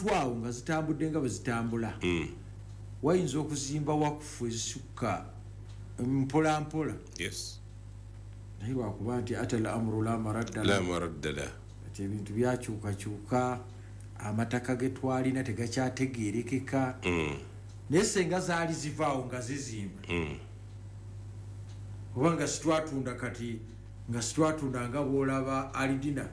Awo nga zitambudde nga bwe zitambula, wayinza okuzimba wakufu ezisukka mpola mpola. Naye lwakuba nti ata al amru la maradda. La maradda la. Kati ebintu byakyukakyuka, amataka ge twalina tegakyategerekeka. Naye senga zaali zivaawo nga zizimba, oba nga sitwatunda, kati nga sitwatunda nga bwolaba alidina.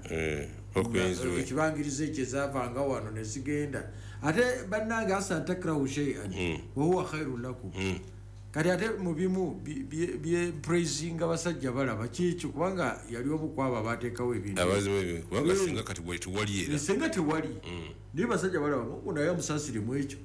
Okwenziwe. Ekibangirizo ekyo ezavanga wano nezigenda. Ate bannange, asa ntakrahu sheian wahuwa khairu lakum. Kati ate mu bimu bye praisinga basajja balaba kikyo, kubanga yali omu kwabo abateekawo ebintu. Abazimu ebyo, kubanga singa kati bwe tewali era. Senga tewali, naye basajja balaba Mungu naye amusaasire mu ekyo,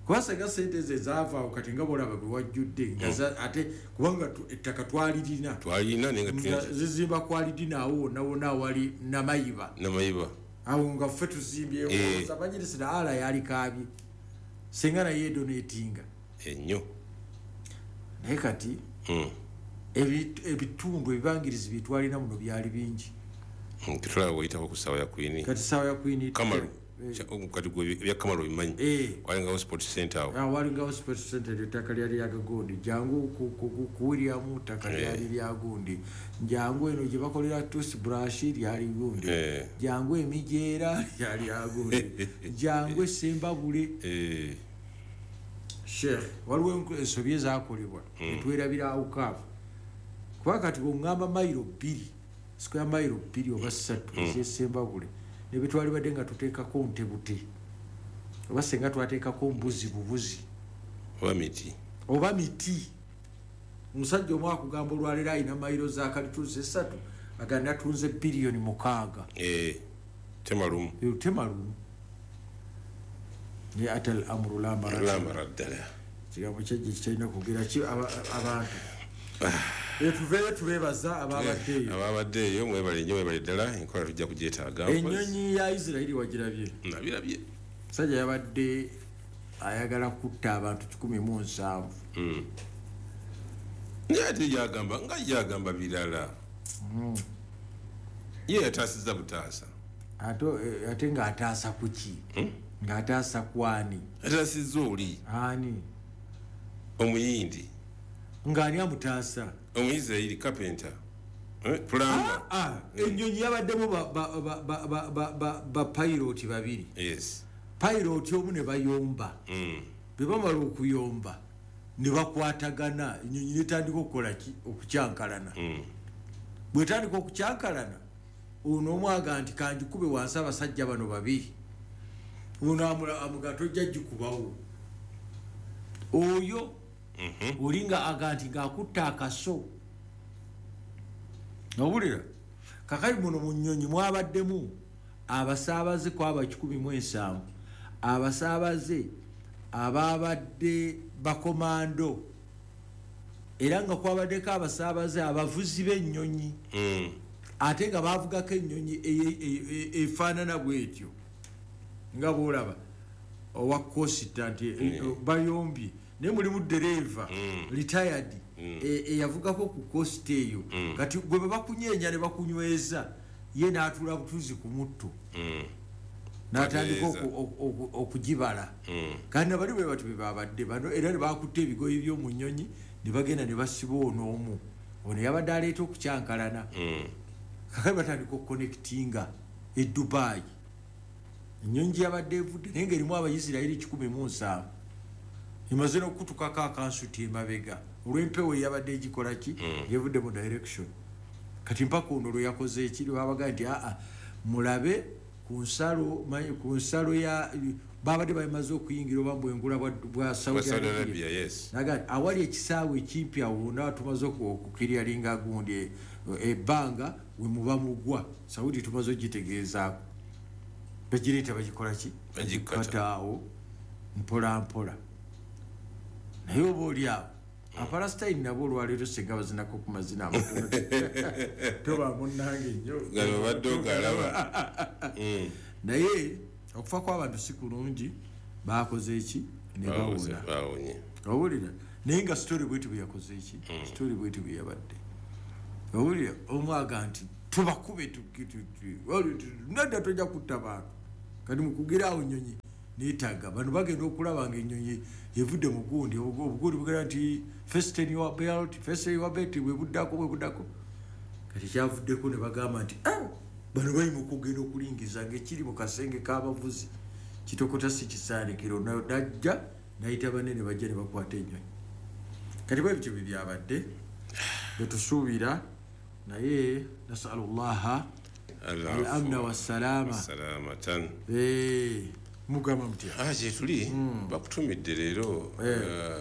kuba senga sente ezo ezaavaawo, kati nga bolaba bwe wajjudde nga ate kubanga ettaka twalirina. Twalina, naye nga nga tulina. Zizimba kwalidina awo wonna wonna awali Namayiba. Namayiba. Awo nga ffe tuzimbyewo. Majilisira ala yalikaabye senga naye edonatinga. Ennyo. Naye kati ebitundu ebibangirizi byetwalina muno byali bingi. Tetulaba bweyitako ku ssaawa ya Kwini. Kati saawa ya Kwini. Kamalu. Kati gwe ebya Kamalu obimanyi. Walingawo sport center awo. Ah, walingawo sport center, ettaka lyali lyagagundi. Jangu ku William, ttaka lyali lyagundi. Jangu eno gye bakolera toothbrush, lyali gundi. Jangu emijeera, lyali lyagundi. Jangu esembabule. Sheikh, waliwo ensobi ezakolebwa netwerabira awukaafu, kuba kati bweŋŋamba mayiro 2, square mayiro 2 oba 3 ezesembabule, nebetwalibadde nga tuteekako ntebute, oba senga twateekako mbuzi bubuzi. Oba miti. Oba miti. Omusajja omu akugamba olwaleero alina mayiro za kalituusi 3, aga natunze biliyoni 6. Temalumu. Temalumu, naye ata al amru la la maradda. Maradda la. Kigambo kyajja kitalina kwogera ki abantu. Tuveeyo, tubeebaza ababaddeeyo. Ababadde eyo mwebale nnyo, mwebale ddala. Enkola tujja kugyetaaga. Ennyonyi ya Isirairi wagirabye? Nabirabye. Musajja yabadde ayagala kutta abantu 170. Naye ate yagamba nga yagamba birala, ye yataasiza butaasa. Ate ng'ataasa kuki? Ng'ataasa kwani? Ataasizza oli. Ani? Omuyindi. Ng'ani amutaasa? Omuisirairi carpenter, plumber. Ah, ennyonyi yabaddemu ba pilot babiri. Pilot omu ne bayomba. Bwe bamala okuyomba ne bakwatagana, ennyonyi netandika okukola ki? Okukyankalana. Bwetandika okukyankalana, ono omwaga nti kanjikube wansi, abasajja bano babiri. Ono amuga tojja gikubawo. Oyo oli nga aga nti ngaakutta akaso. Owulira kakali muno mu nnyonyi mwabaddemu abasaabaze kwaba 170, abasaabaze ababadde bakomando, era nga kwabaddeko abasaabaze abavuzi b'ennyonyi, ate nga bavugako ennyonyi efaanana bwetyo nga bwolaba owa kosita nti bayombye, naye mulimu dereeva retired eyavugako ku kosita eyo. Kati gwe bwe bakunyeenya ne bakunyweza, ye n'atuula butuuzi ku mutto n'atandika Atereeza. okugibala. Kandi nabali bwe bati bwe babadde bano, era ne bakutte ebigoye by'omu nnyonyi ne bagenda ne basiba ono omu, ono yabadde aleeta okukyankalana. Kakati batandika okuconnectinga e Dubai, ennyonyi gye yabadde evudde, naye ngaerimu Abaisirairi 170, emaze n'okukutukako akansuti emabega olw'empewo eyabadde egikola ki, ng'evudde mu direction. Kati mpaka ono lwe yakoze eki, lwebabaga nti aa mulabe ku nsalo, ku nsalo ya babadde bamaze okuyingira oba bwengula bwa Bwa Saudi Saudi Arabia. Arabia, yes. Naga nti awali ekisaawe ekimpi awo wonna tumaze okukiryalinga gundi ebbanga we muba mugwa Saudi, tumaze ogitegeezaako, bagireeta bagikola ki? Bagikata. Bagikata awo mpola mpola. Naye oba oli awo Apalasitayini nabo olwaleero singa bazinako ku mazina amatono, toba munnange nnyo. Gano obadde ogalaba. Naye okufa kw'abantu si kulungi, bakoze eki ne bawona. Bawonye. Owulira, naye nga story bweti bwe yakoze eki, story bweti bwe yabadde. Owulira omwaga nti tubakube, nedda, tojja kutta bantu. Kati mukugira awo ennyonyi neetaaga bano bagenda okulaba nga ennyonyi evudde mu gundi, obugundi bugenda nti fasten your belt, fasten your belt, bwe buddako bwe buddako. Kati kyavuddeko ne bagamba nti bano bali mu kugenda okulingiza ng'ekiri mu kasenge k'abavuzi kitokota si kisaanikiro. Najja nayita banene bajja ne bakwata ennyonyi. Kati bwe bityo bye byabadde betusuubira, naye nasalullaha al-amna wassalama. Salamatan. Mugamba mutya? Gye tuli bakutumidde leero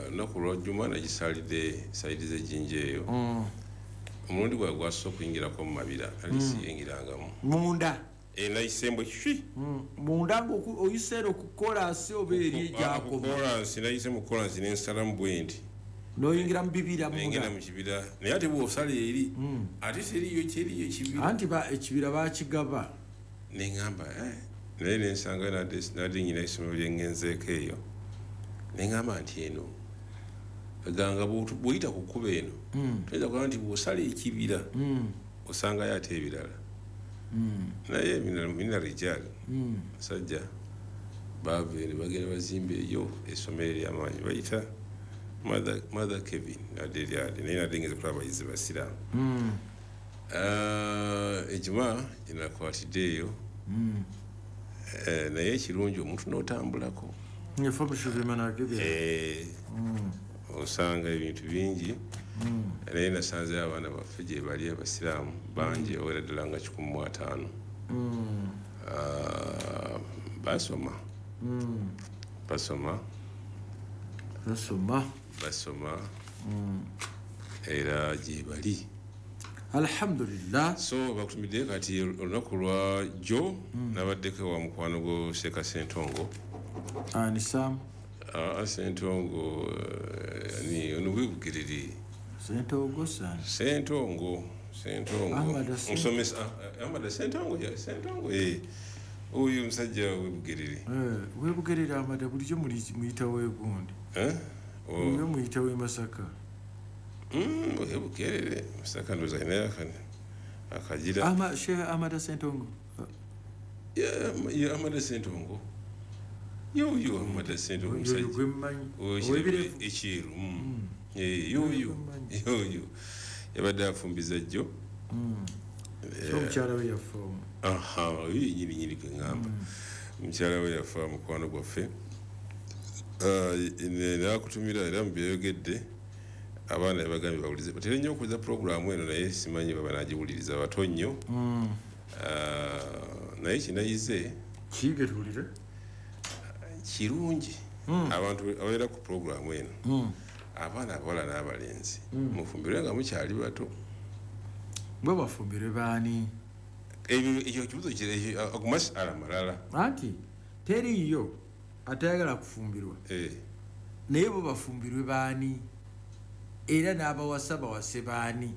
lunaku lwa Juma, nagisalidde sayidi z'ejjinja eyo. Omulundi gwawe gwasoose okuyingirako mu mabira, ali siyingirangamu. Munda? Nayisembwe ki? Munda ng'oyiseera okukolansi oba eri egyakoma? Kolansi, nayise mu kolansi nensalamu bwe nti. N'oyingira mu bibira munda? Nengenda mu kibira, naye ate bw'osala eri ate teriyo kyeriyo ekibira. Anti ekibira baakigaba. Neŋŋamba naye nensanga nadde nyina essomero lye ŋŋenzeeko eyo, neŋŋamba nti eno ganga bw'oyita ku kkubo eno toyinza kulaba nti bw'osala ekibira osangayo ate ebirala. Naye mina rijal basajja baava eno bagenda bazimba eyo essomero ery'amaanyi bayita Mother Kevin nadde eryali, naye nadde ngeze kulaba abayizi basiraamu. Ejuma gyenakwatidde eyo, naye ekirungi omuntu n'otambulako osanga ebintu bingi. Naye nasanzeyo abaana baffe gye bali abasiraamu bangi owera ddala nga 150. Basoma basoma basoma basoma era gye bali, alhamdulillah. So bakutumidde kati olunaku lwa jjo nabaddeko wa mukwano gwo Sheikh Ssentongo. Ani Sam? Ssentongo ani ono webugerere. Ssentongo san. Ssentongo musomesa Ahmad Ssentongo ya Ssentongo oyo musajja webugerere. Webugerere Ahmad bulijjo muyita wegundi. Oyo muyita we Masaka. Webugerere Masaka ndoza ina akagira. Sheikh Ahmad Ssentongo. Yeah, Ahmad Ssentongo. Yoyo Ahmad Ssentongo musajja. Oyo ekiru. Yoyo yoyo yabadde afumbiza jjo. So mukyala we yafa. Oyo nyini nyini kwe ŋŋamba. Mukyala we yafa mukwano gwaffe. Nakutumira era mu byeyogedde abaana yabagambye bawulize. Batera nnyo okuwuliza pulogulaamu eno, naye simanyi baba nagiwuliriza bato nnyo. Naye kinayize kiige tuwulire kirungi abantu ababeera ku pulogulaamu eno, abaana abawala n'abalenzi mufumbirwe nga mukyali bato. Bwe bafumbirwe baani? Ekyo kibuzo agumasala malala. Anti teriiyo atayagala kufumbirwa, naye bo bafumbirwe baani? Era n'abawasa bawase baani?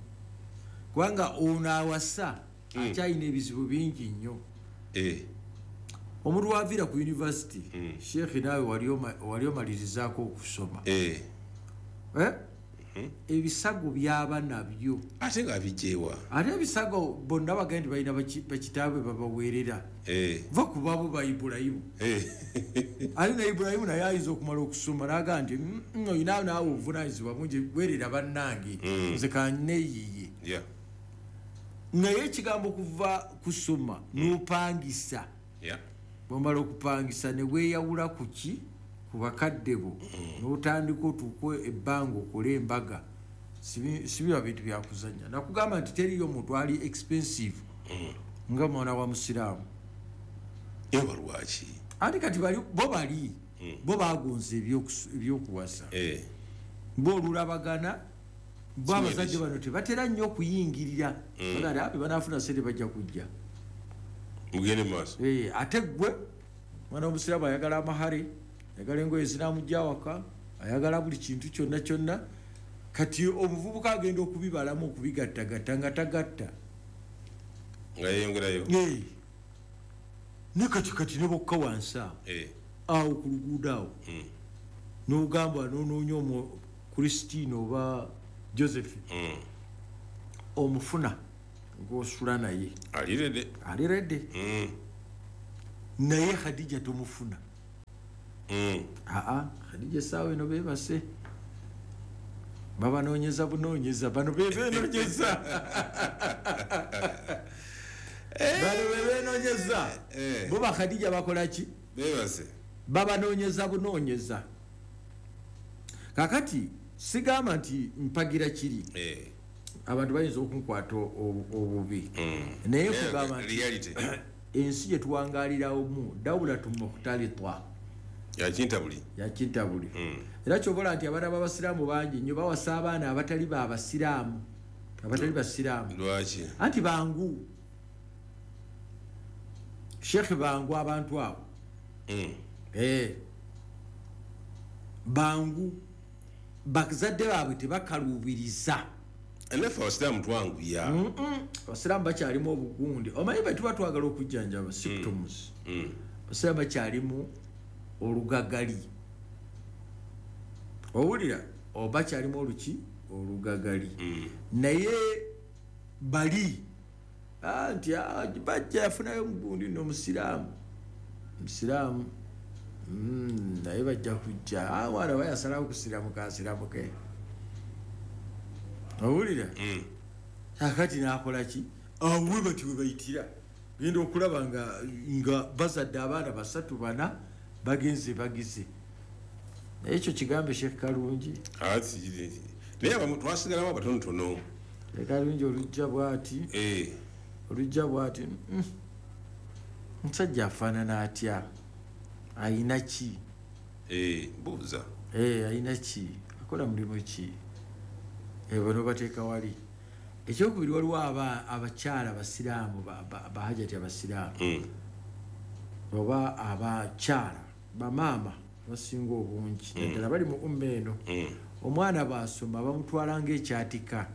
Kubanga ono awasa akyalina ebizibu bingi nnyo. Omuntu waviira ku university, Sheikh naawe wali omalirizaako okusoma, ebisago byaba nabyo ate nga bijewa. Ate ebisago bonna bagenda balina bakitaabwe babaweerera, va ku baabo ba Ibulayimu. Ate ne Ibulayimu naye ayinza okumala okusoma n'agamba nti olina naawe obuvunaanyizibwa bungi, weerera bannange nze kanneeyiye. Naye ekigambo kuva kusoma n'opangisa, bw'omala okupangisa ne weeyawula ku ki? Ku bakadde bo, n'otandika otuuke ebbanga okole embaga. Sibiba bintu byakuzannya. Nakugamba nti teriyo muntu ali expensive nga mwana wa musiraamu. Eba lwaki? Anti kati bo bali bo bagonze ebyokuwasa, bo olulabagana, bo abazadde bano tebatera nnyo okuyingirira. Bagamba abe banaafuna ssente bajja kujja mugende maaso. Ate ggwe mwana w'omusiraamu ayagala amahare, ayagala engoye zinamujja awaka, ayagala buli kintu kyonna kyonna. Kati omuvubuka agenda okubibalamu okubigattagatta nga tagatta nga yeyongerayo. Ne kati ne bokka wansi awo awo ku luguudo awo n'ogamba n'onoonya omu Christine oba Joseph omufuna ng'osula naye ali ready. Ali ready. Naye Khadija tomufuna. Aa, Khadija essaawa eno beebase, babanoonyeza bunoonyeza, bano bebenoonyeza, bano bebenoonyeza. Bo Bakhadija bakola ki? Beebase, babanoonyeza bunoonyeza. Kakati sigamba nti mpagira kiri, abantu bayinza okunkwata obubi, naye kugamba nti ensi gye tuwangaaliramu dawulatu mukhtalitwa, yakintabuli, yakintabuli. Era kyobola nti abaana b'abasiraamu bangi nnyo bawasa abaana abatali babasiraamu, abatali basiraamu. Lwaki? Anti bangu, Sheikh, bangu abantu abo. Bangu, bazadde baabwe tebakaluubiriza. Naffe abasiraamu twanguya. Abasiraamu bakyalimu obugundi. Omanyi bwe tuba twagala okujjanjaba symptoms, abasiraamu bakyalimu olugagali. Owulira, bakyalimu oluki? Olugagali. Naye bali nti bajja yafunayo omugundi nno omusiraamu, musiraamu, naye bajja kujja mwana bayasalawo kusiramuka asiramuke. Owulira, akati nakola ki? Awe bati we bayitira genda okulaba nga bazadde abaana 3 4 bagenze bagize. Naye ekyo kigambe Sheikh Kalungi. Naye abamu twasigalamu abatonotono. Kalungi olujja bw'ati, olujja bw'ati, musajja afaanana atya? Ayina ki? Buuza. Ayina ki? Akola mulimu ki? Bano bateeka wali. Ekyokubiri, waliwo abakyala abasiraamu, bahajati abasiraamu, oba abakyala bamaama abasinga obungi, naddala bali mu umma eno. Omwana bw'asoma bamutwala ng'ekyatika,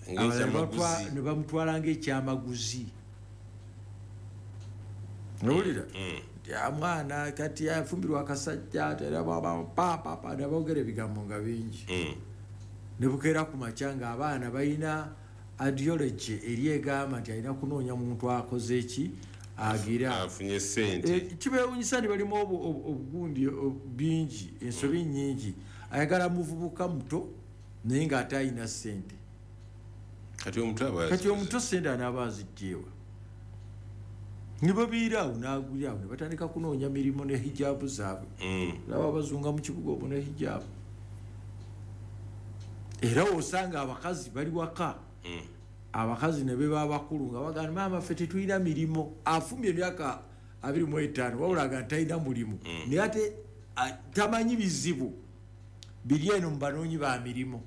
ne bamutwala ng'ekyamaguzi. Owulira? Mwana kati afumbirwa akasajja, papa, ne boogera ebigambo nga bingi. Ne bukeera ku makya ng'abaana balina ideology eri egamba nti alina kunoonya muntu akoze ki, agira afunye ssente. Kibeewuunyisa nti balimu obugundi bingi, ensobi nnyingi. Ayagala muvubuka muto naye ng'ate alina ssente. Kati omuto ssente anaaba aziggyewa? Ne babiira awo n'agulira awo ne batandika kunoonya mirimu ne hijaabu zaabwe. Laba abazunga mu kibuga obwo ne hijaabu. Era osanga abakazi bali waka, abakazi ne beba abakulu nga bagamba maama ffe tetulina mirimu. Afumbye emyaka 25 wabula nga talina mulimu, naye ate tamanyi bizibu biri eno mu banoonyi ba mirimu.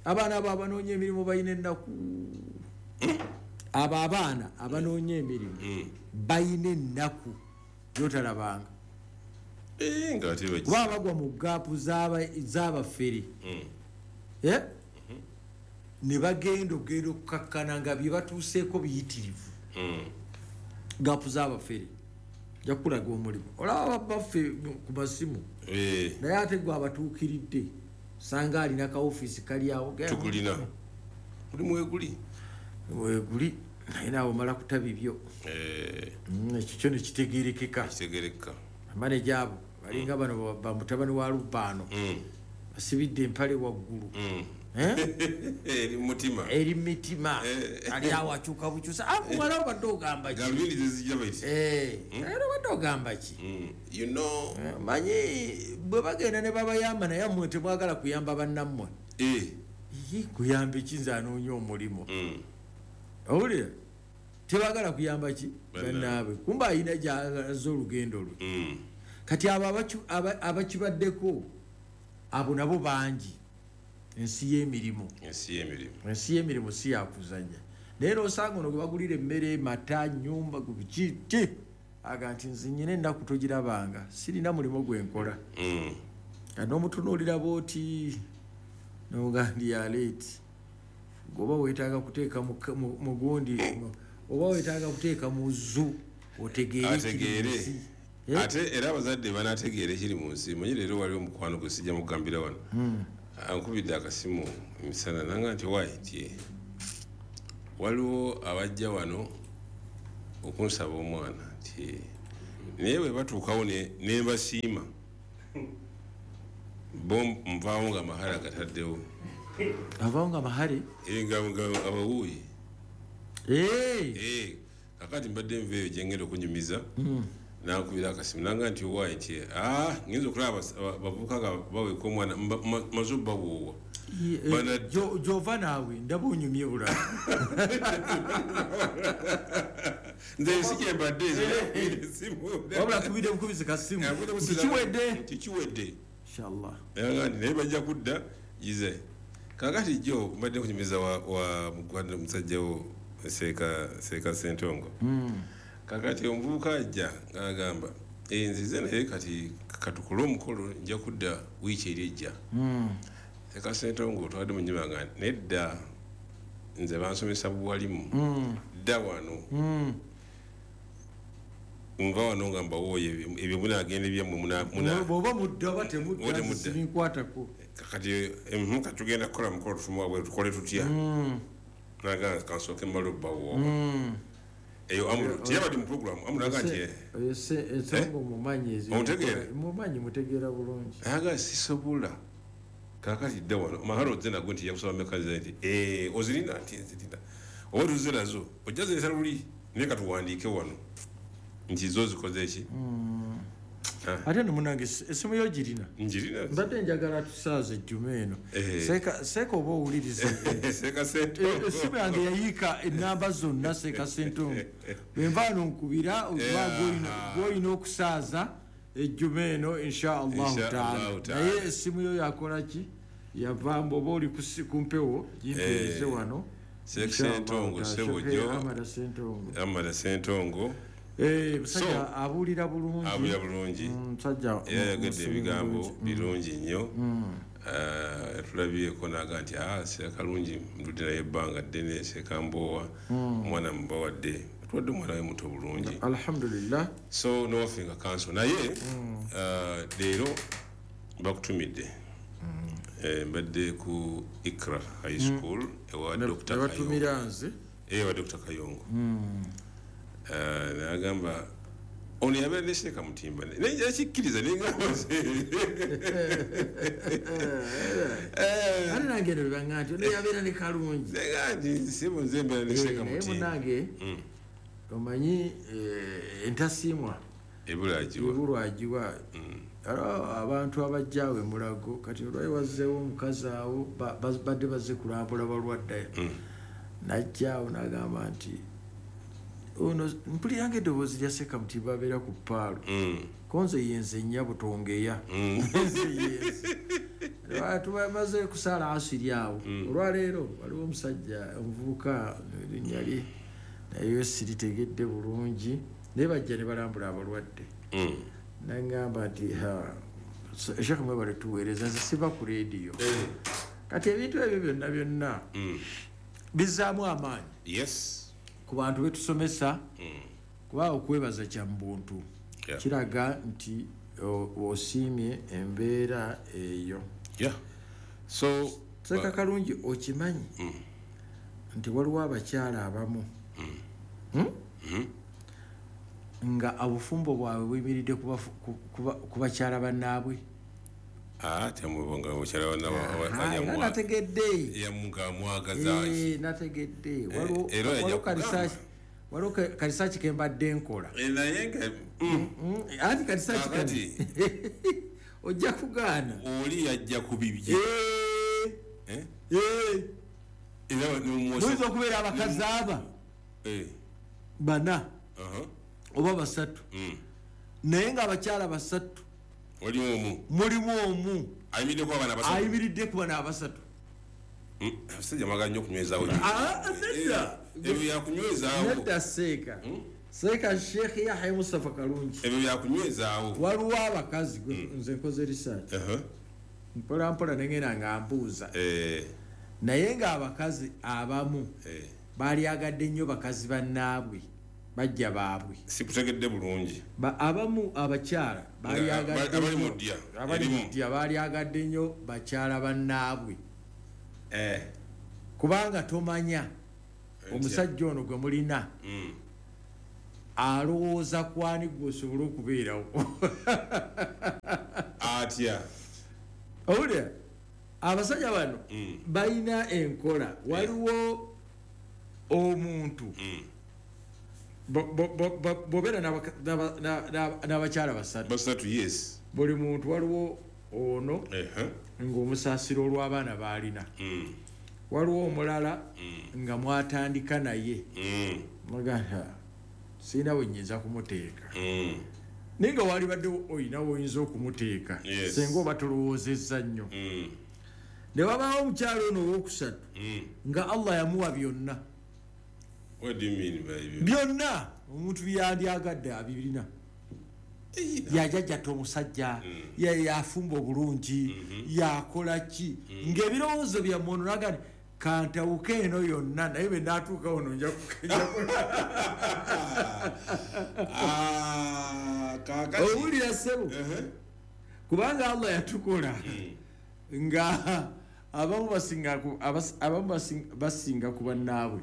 Abaana abo abanoonya emirimu balina ennaku. Abo abaana abanoonya emirimu balina ennaku gyotalabanga. Kuba bagwa mu gaapu z'abafere, ne bagenda okugenda okukakkana nga bye batuuseeko biyitirivu. Gaapu z'abafere nja kukulaga omulimu. Olaba baffe ku masimu, naye ate gwe abatuukiridde sanga alina ka ofiisi kali awo. Tukulina mulimu weguli, weguli, naye naawe omala kuta bibyo. Ekyo kyo ne kitegeerekeka. Amaneja abo balinga bano bamutabani wa Lubaano, basibidde empale waggulu, eri mutima, eri mitima. Ali awo akyuka bukyusa. Muwala obadde ogamba ki? Era obadde ogamba ki? You know, manyi bwe bagenda ne babayamba, naye mmwe temwagala kuyamba bannammwe. Kuyamba ki? Nze anoonya omulimu. Owulira, tebagala kuyamba ki bannaabwe, kumba ayina gy'alaze olugendo lwe. Kati abo abakibaddeko abo nabo bangi. Ensi y'emirimu, ensi y'emirimu si yakuzannya. Naye n'osanga ono gwe bagulira emmere, mata, nnyumba, ki aga nti nze nnyina ennaku togirabanga, sirina mulimu gwe nkola. N'omutunuulira bw'oti n'ogamba ndi yaleeti, oba weetaaga kuteeka mu gundi, oba weetaaga kuteeka mu zu otegeere ekiri mu nsi. Ate era abazadde banaategeera ekiri mu nsi. Manyi leero waliwo omukwano gwe sijja mugambira wano, ankubidde akasimu emisana nanga nti waayi nti waliwo abajja wano okunsaba omwana, nti Naye bwe batuukawo ne mbasiima, bo nvaawo nga amahale agataddewo. Avaawo nga amahale? Nga abawuuyi. Kakati mbadde nva eyo gye ngenda okunyumiza, nankubira akasimu nanga nti owaayi nti ngenza okulaba abavubuka nga baweeka omwana maze obbawoowa. Gyova naawe ndaba onyumye bulala. Nze si gye mbadde wabula kubidde bukubizi kasimu kikiwedde kikiwedde inshallah. Naye bajja kudda gize. Kakati jjo mbadde nkunyumiza wa mugwanda musajja wo Seeka Ssentongo. Kakati omuvubuka ajja ng'agamba nzize naye kati katukole omukolo nja kudda wiiki eri ejja. Seeka Ssentongo twadde mu nnyumba nga nedda nze bansomesa buwalimu dda wano. Nva wano nga mbawooye ebyo munaagenda ebyammwe bw'oba mudda oba temudda sibinkwatako. Kakati katugenda kukola mukolo tufuma wabweru tukole tutya? Naga kansooke mmale obbawoowa. Eyo amuru tiyabadde mu program amuru aga nti oyo ensonga omumanyi ezo mumanyi mutegeera bulungi. Aga sisobola. Kakati dda wano mahalo ozze nagwo nti yakusaba mmeka nti ozirina nti nzirina oba tuzze nazo ojja zireeta luli naye katuwandiike wano nti zo zikoze ki. Ate nno munnange essimu yo girina? Njirina. Mbadde njagala tusaaze ejjuma eno. Seeka oba owuliriza. Seeka Ssentongo. Essimu yange yayiika ennamba zonna Seeka Ssentongo. Bwe nva wano nkubira oba gw'olina okusaaza ejjuma eno insha Allahu taala. Naye essimu yo yakola ki? Yava mbu oba oli ku mpewo gimpeereze wano. Seeka Ssentongo ssebo jjo. Amada Ssentongo. Amada Ssentongo. Musajja abuulira bulungi. Abuulira bulungi. Musajja yayogedde ebigambo birungi nnyo. Tulabyeko n'aga nti Seeka Kalungi ndudde naye ebbanga ddene, Seeka Mboowa omwana mubawadde, tuwadde omwana we muto bulungi. Alhamdulillah. So nowaffe nga kanso naye leero bakutumidde. Mbadde ku Ikra High School ewa Dr. Kayongo. Batumira nze? Ewa Dr. Kayongo. Nagamba ono yabeera ne Seeka Mutimba naye nkikkiriza nengamba ate nange eno bebanga nti ono yabeera ne Kalungi nti sebo nze mbeera ne Seeka naye Mutimba. Munnange omanyi entasiimwa ebulwagiwa. Abantu abajja awo emulago kati olwali wazzeewo omukazi awo badde bazze kulambula balwadde. Najja awo n'agamba nti ono mpulira ng'eddoboozi lya Seeka Mutimba abeera ku ppaalo. Konze yenze nnya butongeya. Nze yenze. Tubamaze kusaala asiri awo. Olwaleero waliwo omusajja omuvubuka erinnya lye naye siritegedde bulungi naye bajja ne balambula abalwadde. Nangamba nti Sheikh mwebale tuweereza nze siva ku leediyo. Kati ebintu ebyo byonna byonna bizzaamu amaanyi. Yes. Ku bantu betusomesa kuba okwebaza kya mbuntu kiraga nti osiimye embeera eyo. So Seeka Kalungi okimanyi nti waliwo abakyala abamu nga obufumbo bwabwe buyimiridde ku bakyala bannaabwe. Temubonga mukyala bannaabwe nategedde. Yamwagazaaki. Nategedde. Waliwo kalisaaki ke mbadde nkola. Naye nga anti kalisaaki kati ojja kugaana. Oli yajja ku bibye. Muyinza okubeera abakazi aba bana oba basatu naye ng'abakyala basatu mulimu omu ayimiridde ku bana abasatu. Abasajja mwagala nnyo okunywezaawo. Ebyo byakunywezaawo. Nedda Seeka. Seeka Sheikh Yahya Mustafa Kalungi. Ebyo byakunywezaawo. Waliwo abakazi nze nkoze research. Mpola mpola nengenda nga mbuuza. Naye ng'abakazi abamu baalyagadde nnyo bakazi bannaabwe bajja baabwe. Sikutegedde bulungi. Abamu abakyala baalyagadde nnyo bakyala bannaabwe. Kubanga tomanya omusajja ono gwe mulina Alowooza kwani gwosobola okubeerawo. Atya? Owulira, abasajja bano balina enkola. Waliwo omuntu bw'obeera n'abakyala basatu, Basatu, yes. Buli muntu waliwo ono ng'omusaasira olw'abaana b'alina. Waliwo omulala nga mwatandika naye, mugamba sirina we nnyinza kumuteeka, naye nga walibadde oyina woyinza okumuteeka senga oba tolowoozezza nnyo. Ne wabaawo omukyala ono owookusatu nga Allah yamuwa byonna. What do you mean by byonna omuntu byandyagadde abirina. Yajajjatta omusajja, yafumba obulungi, yakola ki, ng'ebirowoozo byammwe ono naga nti kantawuke eno yonna, naye bwe naatuuka wano nja Kakati. Owulira ssebo, kubanga Allah yatukola nga abamu basinga ku bannaabwe.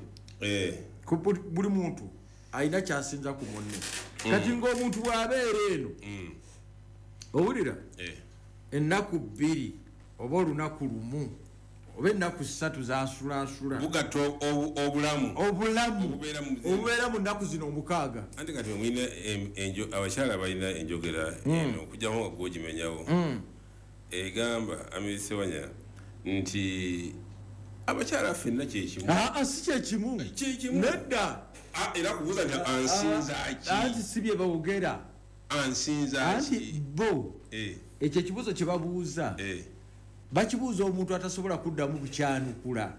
Ku buli muntu alina kyasinza ku munne. Kati ng'omuntu bw'abeera eno, owulira, ennaku 2 oba olunaku 1 oba ennaku 3 zaasulaasula. Bugatta obulamu. Obulamu. Obubeera mu zino. Obubeera mu nnaku zino 6. Anti kati mulina abakyala balina enjogera eno, okuggyako nga gw'ogimenyawo. Egamba Amiri Ssewanya nti abakyala ffenna kye kimu. Aa, si kye kimu. Kye kimu. Nedda. Era kubuuza nti ansinza ki? Anti si bye boogera. Ansinza Anti ki? bo, ekyo ekibuuzo kye babuuza, bakibuuza omuntu atasobola kuddamu kukyanukula.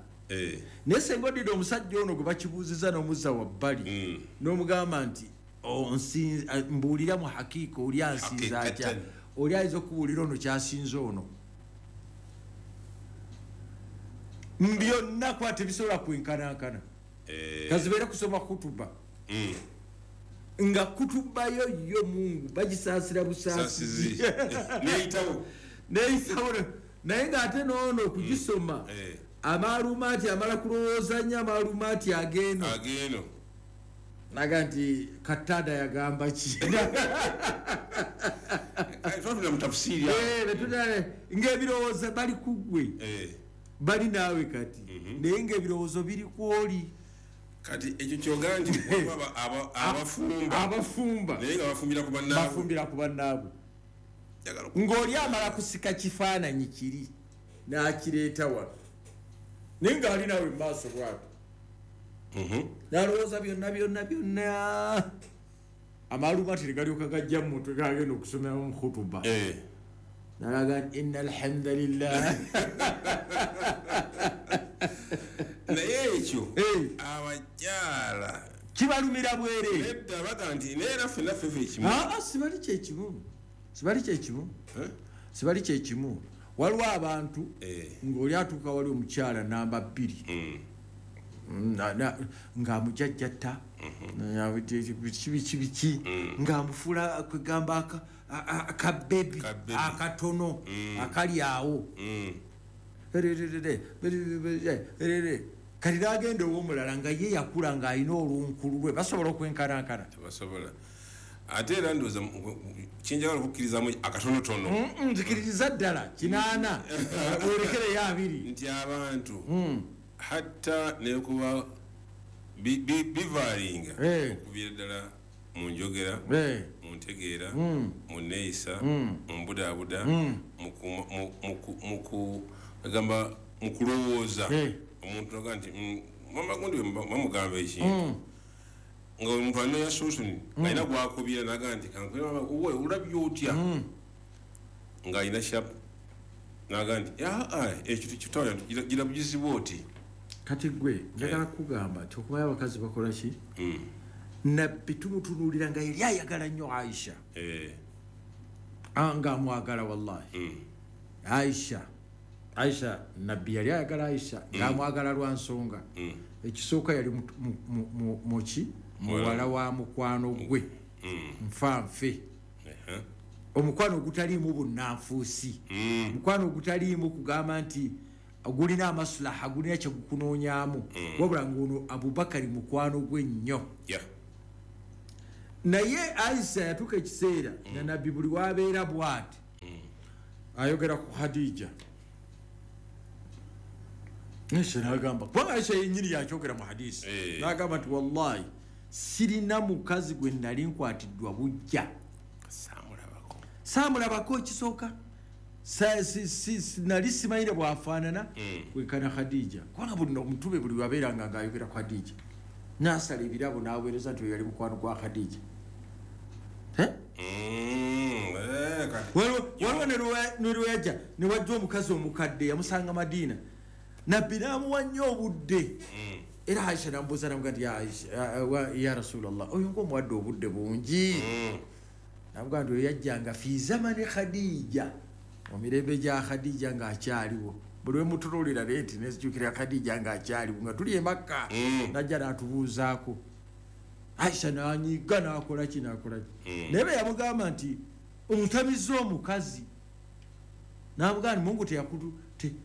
Naye singa oddidde omusajja ono gwe bakibuuzizza n'omuzza wabbali, n'omugamba nti, mbuulira mu hakiika oli ansinza atya? Hakikatan. Oli ayinza okubuulira ono ky'asinza ono. Byonna kuba tebisobola kwenkanankana. Kazibeere kusoma kutuba. Nga kutuba yo yo Mungu bagisaasira busaasizi. Saasizi. Neeyitawo. Neeyitawo. Naye ng'ate n'ono okugisoma, amaalumaati amala kulowooza nnyo, amaalumaati ag'eno. Ag'eno. Naga nti Katada yagamba ki? Twatula mu tafsiri awo. Ng'ebirowoozo bali ku ggwe. Bali naawe kati. Naye ng'ebirowoozo biri ku oli. Kati ekyo kyogamba nti waliwo abafumba. Abafumba. Naye nga bafumbira ku bannaabwe. Bafumbira ku bannaabwe. Njagala Ng'oli amala kusika kifaananyi kiri n'akireeta wano. Naye ng'ali naawe mu maaso bw'atyo. N'alowooza byonna, byonna, byonna. Amaalumaati ne galyoka gajja mu mutwe gagenda okusomera mu khutuba. N'alaga nti, Inna alhamdulillah. Naye ekyo, abakyala Kibalumira bwereere. Nedda baga nti, naye era ffenna ffe ffe kimu. Aa, sibali kye kimu. Sibali kye kimu. Sibali kye kimu. Waliwo abantu ng'oli atuuka wali omukyala namba 2. Ng'amujjajjatta. Biki, biki, biki. Ng'amufuula kwegamba akabebi, Kabebi. akatono, akali awo. Kati n'agenda ow'omulala nga ye yakula ng'alina olunkulu lwe, basobola okwenkanankana? Tebasobola. Ate era ndowooza kyenjagala okukkirizamu akatonotono. Nzikiririza ddala 8, weerekereyo 2. Nti abantu, hatta nekuba bivaalinga okuviira ddala mu njogera, mu ntegeera, mu nneeyisa, mu mbudaabuda, agamba mu kulowooza. Omuntu agamba nti, mama gundi we bamugamba ekintu. Nga omuntu alina ya solution, alina gw'akubira n'agamba nti, kankubire mama, owe, olabye otya? Ng'alina sharp, n'agamba nti, ekyo tekitawanya, gira bugizi bw'oti. Kati ggwe, njagala kukugamba nti okumanya abakazi bakola ki? Nabbi tumutunuulira nga yali ayagala nnyo Aisha. Ng'amwagala wallahi. Aisha, Nabbi yali ayagala Aisha, ng'amwagala lwa nsonga. Ekisooka yali muki? Muwala wa mukwano gwe. Nfa nfe. Omukwano ogutaliimu bunnanfuusi. Omukwano ogutaliimu kugamba nti gulina amaslaha, gulina kye gukunoonyaamu. Wabula ng'ono Abubakari mukwano gwe nnyo. Naye Aisha yatuuka ekiseera nga Nabbi buli wabeera bw'ati ayogera ku Khadija. Aisha n'agamba, kubanga Aisha yennyini yakyogera mu hadisi, n'agamba nti wallahi sirina mukazi gwe nali nkwatiddwa bujja, saamulabako ekisooka, nali simanyire bw'afaanana kwenkana Khadija. Kubanga buli omutume buli wabeeranga ng'ayogera ku Khadija n'asala ebirabo n'aweereza nti oyo yali mukwano gwa Khadija. Waliwo ne lweyajja ne wajja omukazi omukadde yamusanga Madiina, Nabbi n'amuwa nnyo obudde. Era Aisha n'amubuuza n'amugamba nti ya Rasulallah, oyo ng'omuwadde obudde bungi. N'amugamba nti oyo yajjanga fi zamani Khadija, mu mirembe gya Khadija ng'akyaliwo. Buli we mutunuulira leeti nenzijukira Khadija ng'akyaliwo nga tuli e Makka, n'ajja n'atubuuzaako. Aisha n'anyiga n'akola ki n'akola ki. Naye bwe yamugamba nti omutamizza omukazi, n'amugamba nti Mungu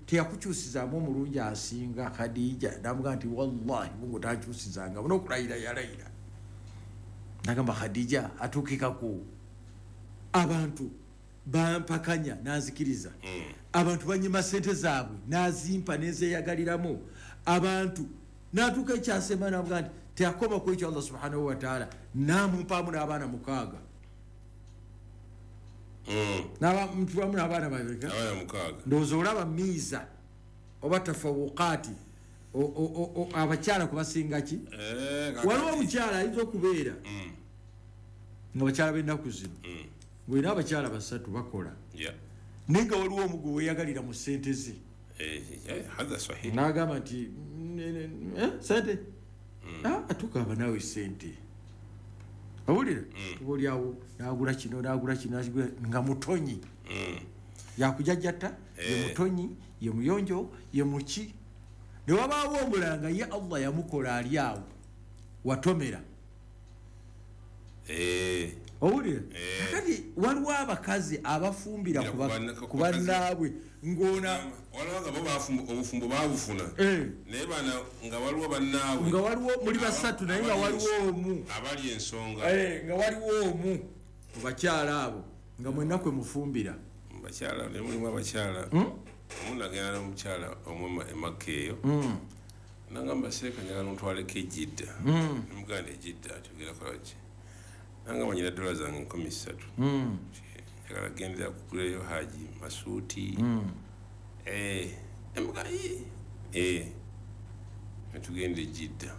teyakukyusizaamu omulungi asinga Khadija. N'amugamba nti wallahi Mungu takyusizanga, n'okulayira yalayira. N'agamba Khadija atuukikako abantu bampakanya n'anzikiriza, abantu banyima sente zaabwe n'azimpa n'ezeeyagaliramu, abantu n'atuuka ekyasema n'amugamba nti teyakoma ku ekyo Allah subhanahu wa ta'ala n'amumpaamu n'abaana 6. N'abamu n'abaana babiri. Ndowooza olaba miiza oba tafawukaati abakyala kubasinga ki? Waliwo omukyala ayinza okubeera nga bakyala b'ennaku zino ng'olina abakyala 3 bakola, naye nga waliwo omu gwe weeyagalira mu ssente ze. N'agamba nti sente atukaaba naawe ssente, owulira oba oli awo n'agula kino n'agula kino nga mutonyi, yakujajjata, ye mutonyi, ye muyonjo, ye muki. Ne wabaawo omulala nga ye Allah yamukola ali awo watomera. Owulira kati waliwo abakazi abafumbira ku bannaabwe ng'ona waliwo nga bo obufumbo baabufuna, naye bana nga waliwo bannaabwe nga waliwo muli 3 naye nga waliwo omu abali ensonga, nga waliwo omu mu bakyala abo nga mwenna kwe mufumbira. Mu bakyala ne mulimu abakyala omu nagenda n'omukyala omu e Makka eyo, nangamba seeka njagala ontwaleko e Jidda. Nemugamba e Jidda tugenda kola ki? Nangamba nyina dola zange 3,000, njagala gendera kugulayo haji masuuti. Nemugamba netugenda e Jidda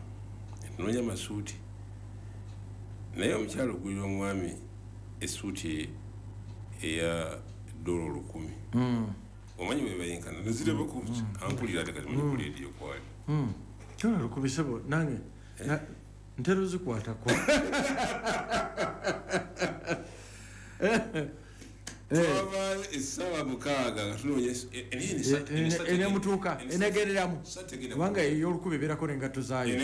netunoonya masuuti, naye omukyala ogulira omwami essuuti eya $1,000. Omanyi bwe bayinkana nezirabako ankulira ate kati manyi kuleediyo kwali $1,000 sebo nange ntera ozikwatako. Twavaayo essaawa 6 nga tunoonya enemutuuka enegereramu, kubanga ey'olukumi ebeerako n'engatto zaayo,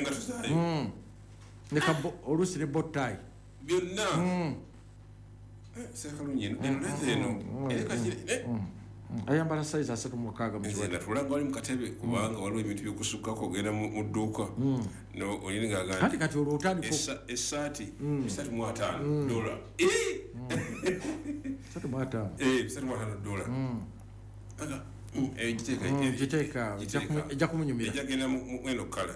oluusi ne bottayi byonna. Sekalungi eno eno ayambala size 36 mu kiwato. Natulanga wali mu katebe kubanga waliwo ebintu by'okusukkako ogenda mu dduuka olina ng'agamba kati kati olwo otandika essaati $35. $35 $35. Aga giteeka ejja kumunyumira, ejja genda mu eno kala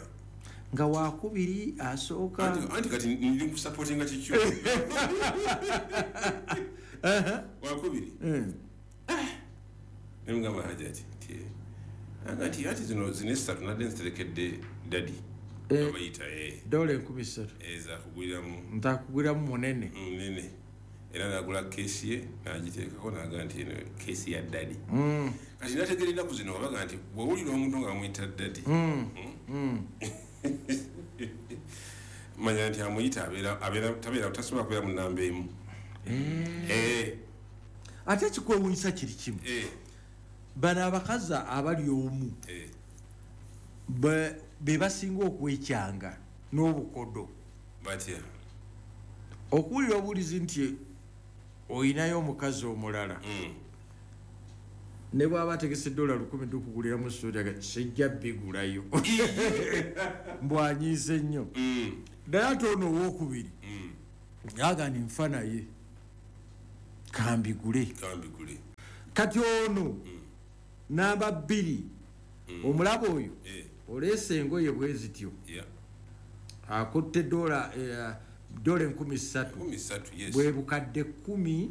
nga wakubiri asooka. Anti kati ndi nkusupportinga kikyo wakubiri. Nemugamba Hajati nti ati zino zino 3 nadde nziterekedde dadi abayita $3,000 ezakuguliramu ntakuguliramu munene era nagula keesi ye n'agiteekako n'agamba nti eno keesi ya dadi. Kati nategeera ennaku zino babaga nti bw'owulira omuntu nga bamuyita dadi manya nti amuyita abeera tasobola kubeera mu nnamba emu. Ate ekikwewuunyisa kiri kimu, bano abakazi abali omu be basinga okwekyanga n'obukodo. Batya okuwulira obuwulizi nti oyinayo omukazi omulala, ne bw'aba ategese $1,000 tukuguliramu suuti aga sijja bigulayo mbwanyiise nnyo. Naye ate ono owookubiri Aga nfa naye kambigule. Kati ono namba 2 omulabo oyo oleese engoye bwe zityo, akutte dola 3,000 bwe bukadde 12.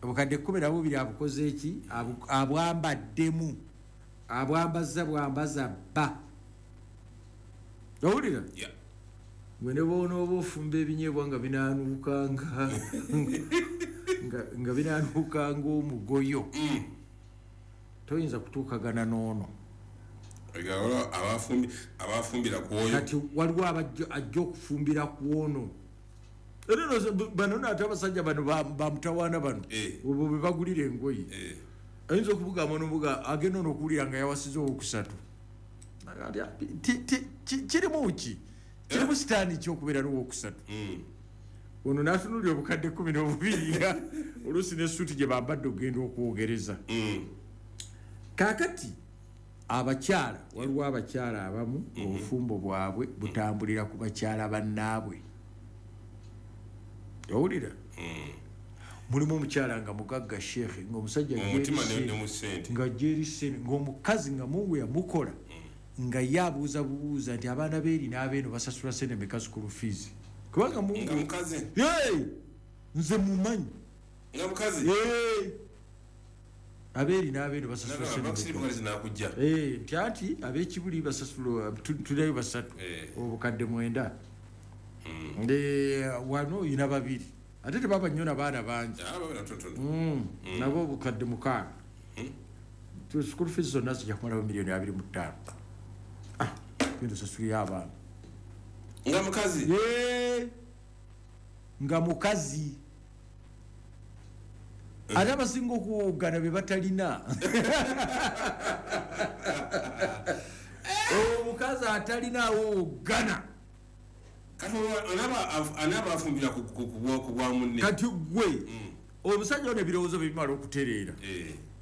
Obukadde 12 abukoze eki? Abwambaddemu, abwambaza bwambaza bba. Owulira? Gwe ne bw'onooba ofumba ebinyeebwa nga binaanuukanga nga binaanuukanga omugoyo, toyinza kutuukagana n'ono. Abafumbira ku oyo. Kati waliwo ajja okufumbira ku ono. Era bano ate abasajja bano bamutawaana bano obwo bwe bagulira engoye, ayinza okubugamba n'obuga agenda ono okuwulira nga yawasiza owokusatu. Kirimu ki? Kirimu sitaani ki okubeera n'owokusatu? Ono n'atunuulira obukadde 12 nga oluusi n'essuuti gye bambadde okugenda okwogereza. Kaakati abakyala, waliwo abakyala abamu obufumbo bwabwe butambulira ku bakyala bannaabwe. Owulira? Mulimu omukyala nga mugagga sheekhe, ng'omusajja nga eri ssente, ng'omukazi nga Mungu yamukola, nga ye abuuza bubuuza nti abaana beeri n'abeeno basasula ssente meka school fees. Kubanga Mungu nze mumanyi abeeri n'abeeno basasula ssente nti anti ab'ekibuli basasula tulinayo 3 obukadde 9. Wano oyina 2 ate tebaba nnyo n'abaana bangi, nabo obukadde 6. School fees zonna zijja kumalawo miliyoni 25. Genda osasulire abaana. Nga mukazi? Nga mukazi. Ate abasinga okuwoggana be batalina. Omukazi atalina awoggana. Kati anaaba afumbira ku bwa munne. Kati gwe omusajja ono ebirowoozo bye bimala okutereera,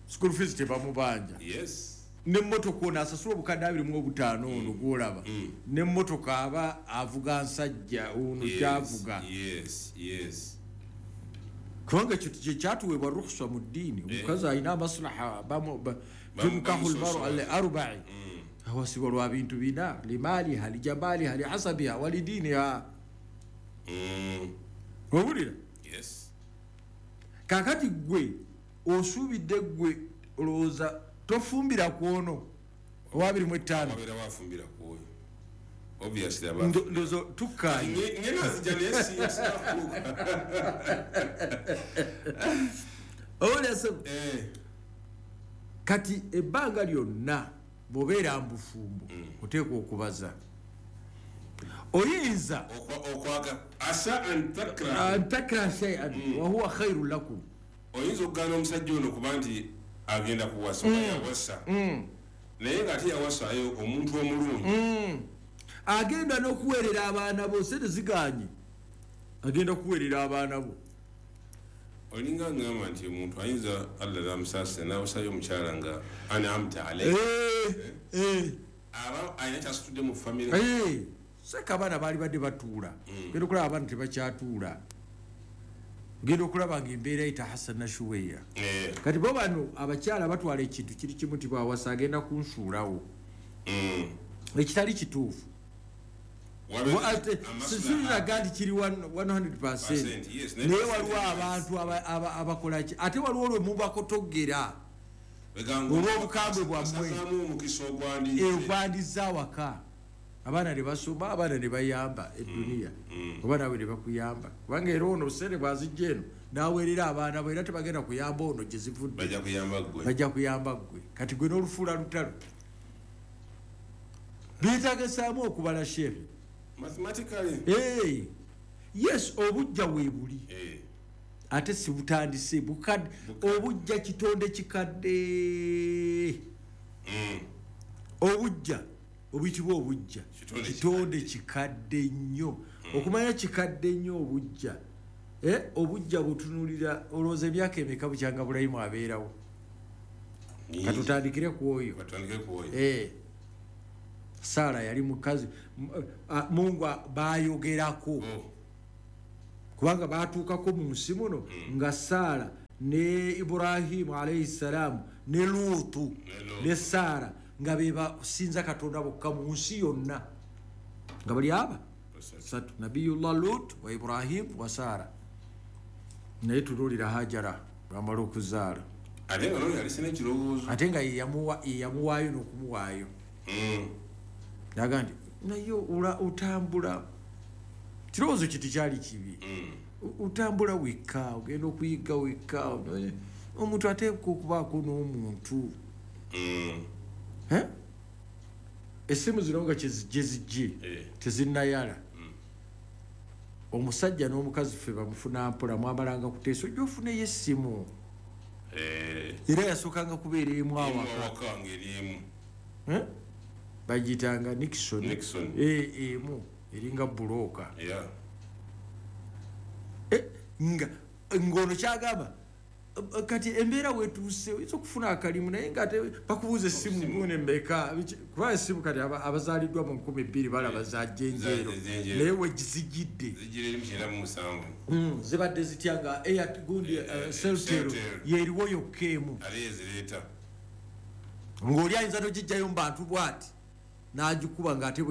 school fees tebamubanja, n'emmotoka ono asasula obukadde 25 ono gw'olaba, n'emmotoka aba avuga nsajja ono gy'avuga. Kubanga ekyo kyekyatuweebwa rukhsa mu ddiini. Omukazi alina amaslaha, tunkahu lmaru li arba'i, awasibwa lwa bintu 4: limaliha, lijamaliha, lihasabiha walidiniha. Owulira? Kaakati gwe osuubidde, gwe olowooza tofumbira ku ono owa 25. Ndozo tukkaanye. Kati ebbanga lyonna bw'obeera mu bufumbo oteekwa okubaza. Oyinza antakraha shay'an wa huwa khairun lakum. Oyinza okugaana omusajja ono kuba nti agenda kuwasa oba yawasa, naye ng'ate yawasayo omuntu omulungi agenda n'okuweerera abaana bo. Sente ziganye, agenda kuweerera abaana bo. Olinga ngamba nti omuntu ayinza Allah namusaasira n'awasayo omukyala nga an'amta alayhi, aba alina kyasitudde mu famire. Seka abaana baali badde batuula, genda okulaba abaana tebakyatuula, genda okulaba nga embeera etahasana shuweya. Kati bo bano abakyala batwala ekintu kiri kimu nti bwawasa agenda kunsuulawo, ekitali kituufu. Sisiraga nti kiri 100%, naye waliwo abantu abakola ki, ate waliwo olwe mubakotogera olw'obukambwe bwammwe ogwandiza awaka. Abaana ne basoma, abaana ne bayamba eduniya, oba naawe ne bakuyamba. Kubanga era ono sente bw'azijja eno n'aweerera abaana bo, era tebagenda kuyamba ono gye zivudde, bajja kuyamba ggwe. Kati gwe n'olufuula lutalo. Byetaagisaamu okubala sheekhe. Yes, obujja weebuli, ate si butandise. Obujja kitonde kikadde. Obujja obuyitibwa obujja kitonde kikadde nnyo. Okumanya kikadde nnyo obujja, obujja butunulira olowooza emyaka emeka bukyanga Bulayimu abeerawo? Katutandikire ku oyo. Sara yali mukazi Mungu bayogerako. Kubanga batuukako mu nsi muno nga Sara ne Ibrahimu alayhi salam ne Lutu ne Sara nga be basinza Katonda bokka mu nsi yonna, nga bali aba satu, Nabiyullah Lut wa Ibrahim wa Sara. Naye tunuulira Hajara bamala okuzaala, ate nga yali n'ekirowoozo, ate nga yeyamuwaayo n'okumuwaayo. Naga nti naye otambula, kirowoozo kiti kyali kibi. Otambula wekka, ogenda okuyiga wekka, omuntu ateekwa okubaako n'omuntu. Essimu zino nga gye zijje tezinnayala. Omusajja n'omukazi ffe bamufuna mpola, mwamalanga kuteesa ojja ofuneyo essimu. Era yasookanga kubeera emu awaka, bagiyitanga Nixon emu eringa bulooka. Nga ng'ono kyagamba kati embeera wetuuse oyinza okufuna akalimu, naye nga ate bakubuuza essimu gune mmeka, kuba essimu kati abazaaliddwa mu 2000 balaba za jjenjeero, naye wegizijjidde zibadde zitya nga gundi Celtel yeriwo yokka emu, ng'oli ayinza togijjayo mu bantu bw'ati n'agikuba ng'ate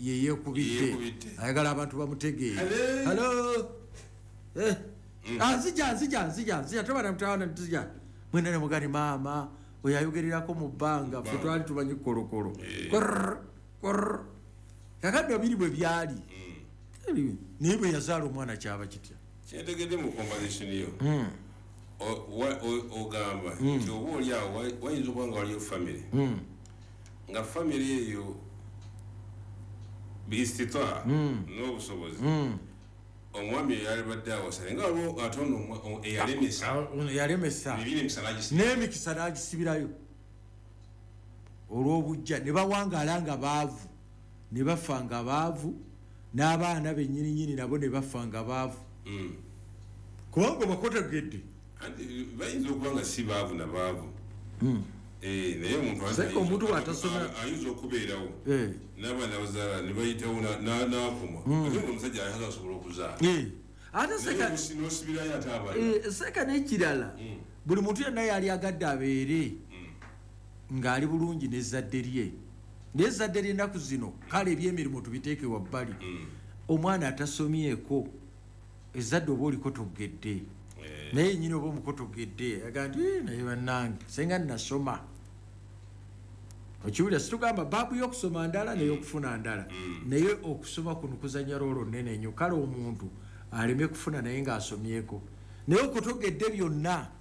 yeyeekubidde, ayagala abantu bamutegeere. Halo, nzija tobana mutawana nzija mwena ne mugani maama oyo ayogererako mu bbanga, ffe twali tumanyi kolokolo. Kakadde biri bwe byali, naye bwe yazaala omwana kyaba kitya? Kyentegedde mu conversation yo ogamba nti oba oli awo wayinza okuba nga waliyo famire, nga famire eyo biistita n'obusobozi, omwami eyalibadde awasa nga waliwo ate ono eyalemesa n'emikisa n'agisibirayo olw'obujja, ne bawangaala nga baavu, ne bafa nga baavu, n'abaana bennyininyini nabo ne bafa nga baavu. Kubanga bakotegedde bayinza okuba nga si baavu na baavu, naye omuntu ayinza okubeerawo n'abaana bazaala ne bayitawo n'akoma, ate nga omusajja ayinza asobola okuzaala ate n'osibirayo ate abaana. Seka n'ekirala, buli muntu yenna yali agadde abeere ng'ali bulungi n'ezzadde lye, naye ezzadde ly'ennaku zino kale ebyemirimu tubiteeke wabbali, omwana atasomyeko ezzadde oba olikotogedde, naye nnyini oba omukotogedde aga nti naye bannange senga nnasoma. Okiwulira, situgamba baabu y'okusoma ndala n'ey'okufuna ndala, naye okusoma kuno kuzannya roolo nnene nnyo. Kale omuntu aleme kufuna naye ng'asomyeko, naye okotogedde byonna.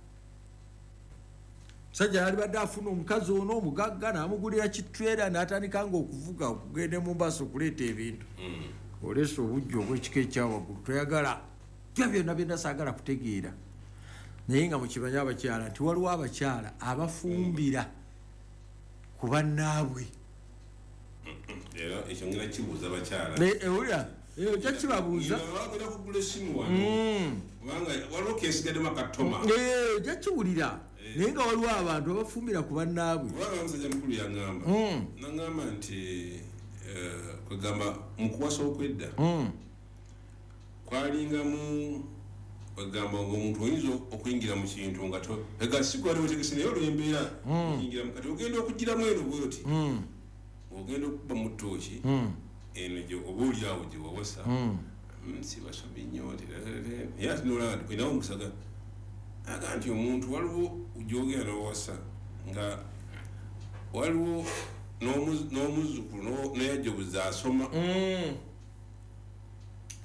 Musajja yalibadde afuna omukazi ono omugagga n'amugulira kitwera n'atandika nga okuvuga okugenda e Mombasa okuleeta ebintu, oleese obujja obw'ekika ekyawaggulu toyagala byo byonna byonna saagala kutegeera. Naye nga mukimanyi abakyala nti waliwo abakyala abafumbira ku bannaabwe. Era ekyo ngenda kibuuza abakyala. Ewulira ojja kibabuuza, bagenda kugula essimu wano kubanga waliwo kesigaddemu akatoma, ojja kiwulira. Naye nga waliwo abantu abafumbira ku bannaabwe. Kubanga omusajja mukulu yaŋŋamba, naŋŋamba nti kwegamba mu kuwasa okwedda kwalingamu kwegamba ng'omuntu oyinza okuyingira mu kintu nga si gwali wetegese, naye olw'embeera oyingiramu, kati ogenda okugiramu eno bwoti, ogenda okukuba mu ttooki eno oba oli awo gye wawasa, si basomi nnyo, naye ate nolaba nti olinawo omusaga aga nti omuntu waliwo gy'ogenda n'owasa nga waliwo n'omuzzukulu n'eyajja obuzi asoma.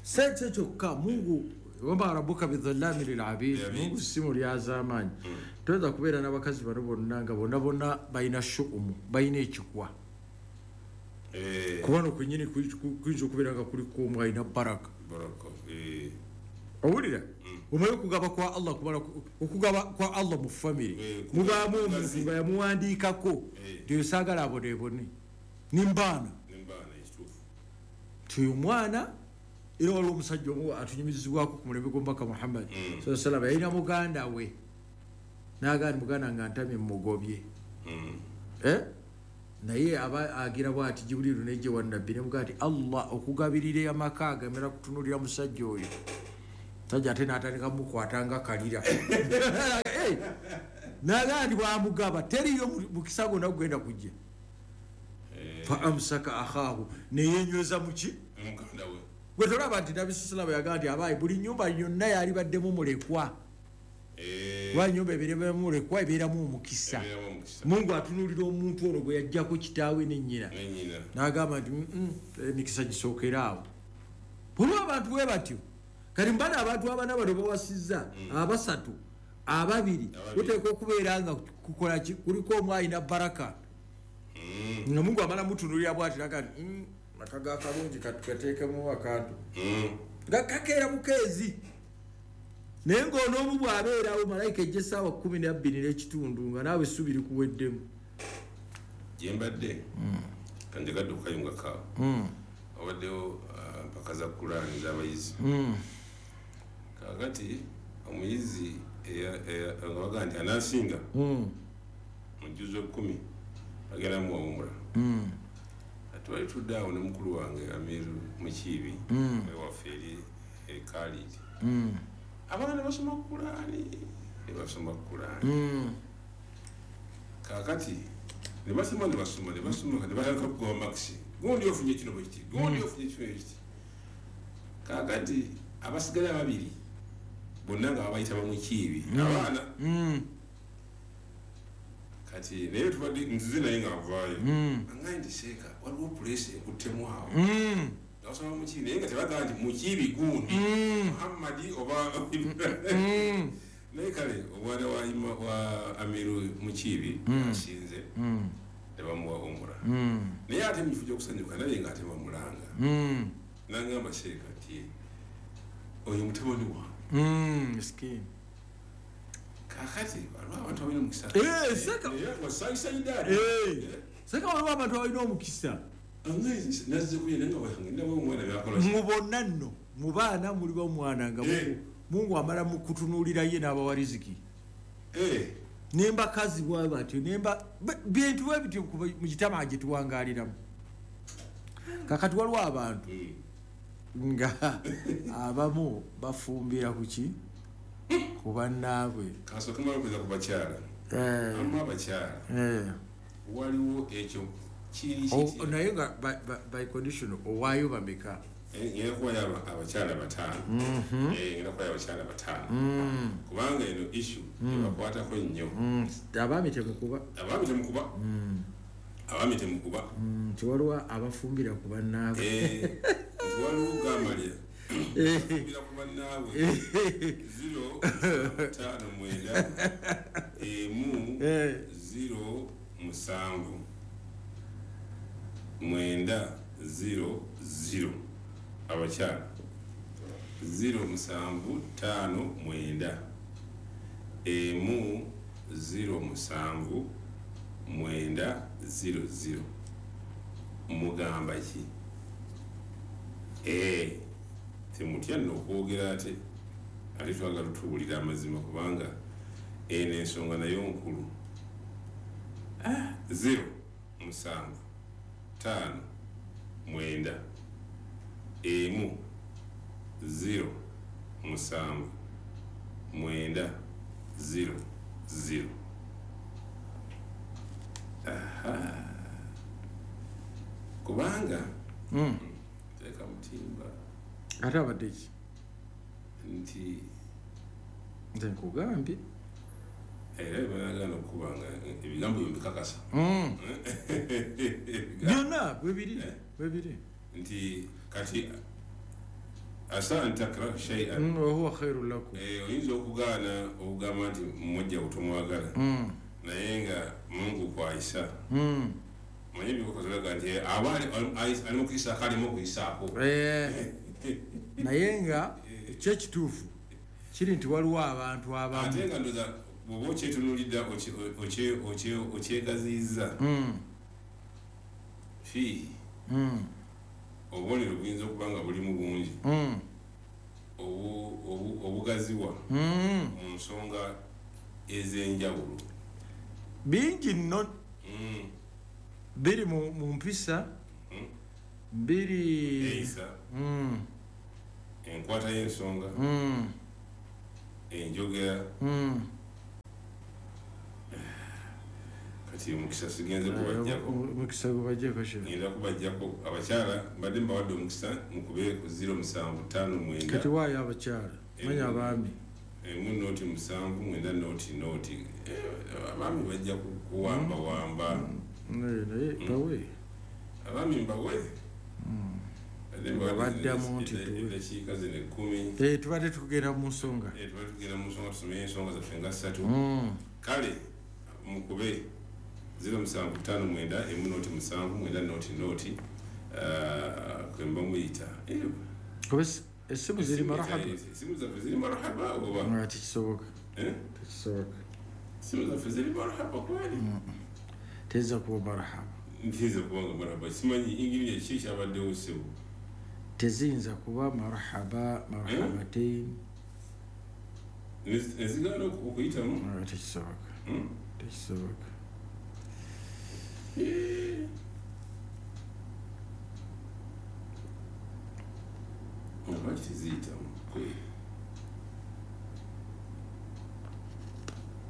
Sente kyokka Mungu wama rabbuka bidhallami lilabid, Mungu si mulyazaamaanyi. Toyinza kubeera n'abakazi bano bonna nga bonna bonna balina shuumu, balina ekikwa, kuba no kwennyini kuyinza okubeera nga kuliko omu alina baraka. Owulira, omanyi okugaba kwa Allah, okugaba kwa Allah mu famire mubaamu omuntu nga yamuwandiikako nti oyo saagala aboneebone nimbaana nti oyo omwana. Era waliwo omusajja omu atunyumizibwako ku mulembe gw'omubaka Muhammad sallallahu alaihi wasallam, yalina muganda we n'agamba muganda nga ntamye mugobye, Naye aba agira bw'ati Jibuliru nejje wa Nabbi nemugaa nti Allah okugabirira amaka agamera kutunuulira musajja oyo. Sajja ate n'atandika mukwata nga kalira. Nagaa nti bw'amugaba teriyo mukisa gwonna gugenda kujja. Fa amsaka akhaahu neyenyweza muki? Muganda we. Gwe tolaba nti Nabbi sallallahu alayhi wasallam yagamba nti abaayi buli nnyumba yonna yalibaddemu mulekwa. Wa nnyumba ebeeramu mulekwa ebeeramu omukisa. Mungu atunuulira omuntu ono gwe yajjako kitaawe ne nnyina. N'agamba nti emikisa gisookera awo. Buli abantu bwe batyo. Kati mbana abantu abana bano bawasizza abasatu ababiri kuteekwa okubeera nga kukola ki kuliko omu alina baraka. Nga Mungu amala mutunuulira bw'ati n'agamba nti maka ga kalungi katukateekemu akantu. Nga kakeera bukeezi. Naye ng'onoomu bw'abeerawo malayika ejja essaawa 12:15 nga naawe essubi likuweddemu. Gye mbadde kanjagadde okukayunga kaawo. Wabaddewo mpaka za Kulaani z'abayizi. Kaakati omuyizi nga bagamba nti anaasinga mu jjuzo 10 agenda muwawumula. Twali tudde awo ne mukulu wange Amiru Mukiibi ewaffe eri e Khalid. Abaana ne basoma Kulaani ne basoma Kulaani. Kaakati ne basoma ne basoma ne basoma ne batandika kugoba makisi. Gundi ofunye kino bwe kiti, gundi ofunye kino bwe kiti. Kaakati abasigala babiri bonna nga babayita Bamukiibi abaana. Kati naye tubadde nzize naye ng'avaayo. Angaye nti seeka waliwo puleesi ekuttemu awo. Nga basoma Mukiibi naye nga tebagamba nti Mukiibi gundi Muhammadi oba naye kale omwana wa Amiru Mukiibi asinze ne bamuwa umura. Naye ate mu kifo ky'okusanyuka naye ng'ate bamulanga. N'angamba seeka nti oyo mutabani wange. Miskiini. Kakati waliwo abantu abalina omukisa. Seka seka waliwo abantu abalina omukisa. Mu bonna nno mu baana muliba omwana nga Mungu amala mukutunuulira ye n'abawa riziki. Nembakazi bwe batyo nemba bintu bwe bityo mu kitama gye tuwangaaliramu. Kakati waliwo abantu nga abamu bafumbira ku ki? Ku bannaabwe. Kasooke mmale okuza ku bakyala. Amu abakyala. Waliwo ekyo kiri kiti. Naye nga by condition owaayo bameka? Ngenda kuwaayo abakyala 5. Ngenda kuwaayo abakyala 5. Kubanga eno issue ebakwatako nnyo. Abaami temukuba. Abaami temukuba. Abaami temukuba. Nti waliwo abafumbira ku bannaabwe. Nti waliwo gamalya. Abafumbira ku bannaabwe. 0 5 9 emu 0 7 9 0 0 abakyala 0 7 5 9 emu 0 7 9 0 0 mugamba ki? Temutya nno okwogera ate ate twagala tutuwulira amazima kubanga eno ensonga nayo nkulu. 0 7 5 9 emu 0 7 9 0 0. Aha. Kubanga teeka mutimba. Ate abadde ki? Nti nze nkugambye. Era banagaana okubanga ebigambo byo mbikakasa. Byonna bwe biri. Nti kati asa an takrahu shay'an wa huwa khairun lakum. Oyinza okugaana okugamba nti mujja otomwagala. Naye nga Mungu kwayisa. Manyi bikokozolaga nti aba ali mu kuyisa ali mu kuyisaako. Naye nga ekyekituufu kiri nti waliwo abantu abamu. Ate nga ndoza bw'oba okyetunuulidde okyegaziyizza. Fiihi. Obubonero buyinza okuba nga bulimu bungi. Obugaziwa mu nsonga ez'enjawulo. Bingi nno. Biri mu mpisa, biri enkwata y'ensonga, enjogera. Kati omukisa sigenze kubajjako. Omukisa gubajjako ki? Ngenda kubajjako abakyala, mbadde mbawadde omukisa mukube ku 0759. Kati waayo abakyala, manya abaami. Emu noti 7 9 noti noti. Abaami bajja kuwamba wamba. Naye bawe. Abaami mbawe. Babaddamu nti eddakiika zino 10. Tubadde tugenda mu nsonga. Tubadde tugenda mu nsonga, tusome ensonga zaffe nga 3. Kale mukube 0759 emu noti 7 9 noti noti kwemba muyita. Essimu ziri marahaba. Essimu zaffe ziri marahaba oba? Tekisoboka. Tekisoboka. Essimu zaffe ziri marahaba kweli? Teyinza kuba marahaba. Ntiyinza kuba nga marahaba. Simanyi ingiriya ki kyabaddewo ssebo. Teziyinza kuba marahaba, marhabatain. Nezigaana okuyitamu? Tekisoboka. Tekisoboka. Lwaki teziyitamu kweli?